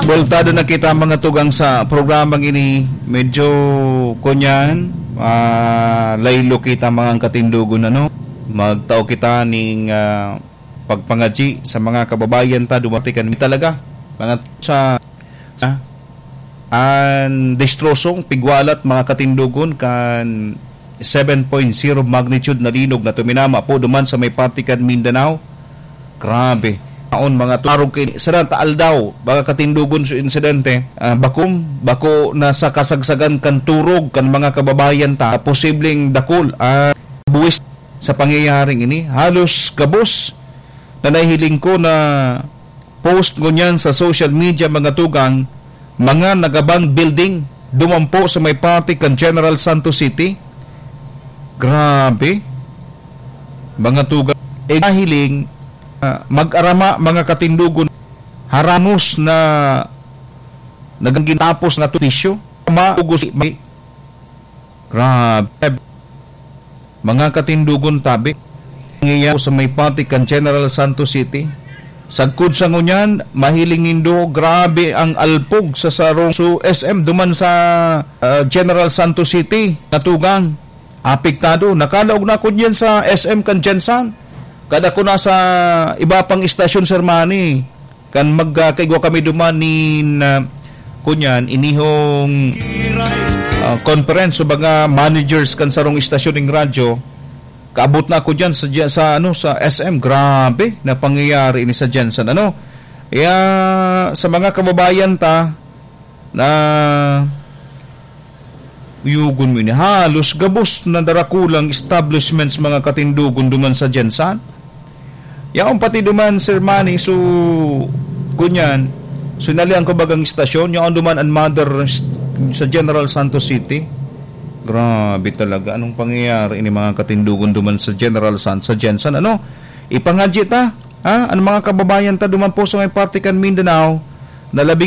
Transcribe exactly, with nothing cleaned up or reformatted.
Buweltado na kita, mga tugang, sa programang ini. Medyo, kunyan, ah, laylo kita, mga katindogon, ano? Magtao kita ning, ah, pagpangadyi sa mga kababayan ta, dumating kan talaga. Mga sa, sa, an destrosong pigwalat, mga katindogon, kan seven point zero magnitude na linog na tuminama po duman sa may parte kan Mindanao. Grabe. Aon mga tu-, arog kay sarang ta aldaw, mga katindogon sa insidente, ah, bakom, bako na sa kasagsagan kan turog kan mga kababayan ta, posibleng dakul, ah, buwis sa pangyayaring ini. Halos gabos na nahihiling ko na post ngunyan sa social media, mga tugang, mga nagabang building, dumampo sa may parte kan General Santos City. Grabe. Mga tugang. E nahiling, ah, mag-arama, mga katindogon, harangos na naging ginapos na tulisyo. Ma-, ugos, may, grabe. Mga katindogon, tabi. Ngiya sa may parte kan General Santos City. Sagkod sa ngunyan, mahiling nindo, grabe ang alpog sa sarong su S M duman sa, ah, General Santos City, natugang. Apektado. Nakalaog na ako diyan sa S M kan Gensan. Kada ko nasa iba pang istasyon, Sir Manny, kan magkaigwa kami duman nin, ah, kunyan, inihong, ah, conference o mga managers kan sarong istasyon ning radyo, kaabot na ako diyan sa, diyan sa, ano, sa S M. Grabe na pangyayari ini sa Gensan, ano? Kaya sa mga kababayan ta na uyugon mo ini, halos gabos na darakulang establishments, mga katindogon, duman sa Gensan. Yaon pati duman, Sir Manny, so, kunyan, sinalian ko bagang istasyon, yaon duman ang mother st-, sa General Santos City. Grabe talaga. Anong pangyayari ini, mga katindogon, duman sa General San-, sa Gensan? Ano? Ipangadyi ta, ha? Ang mga kababayan ta duman po sa may parte kan Mindanao, na labing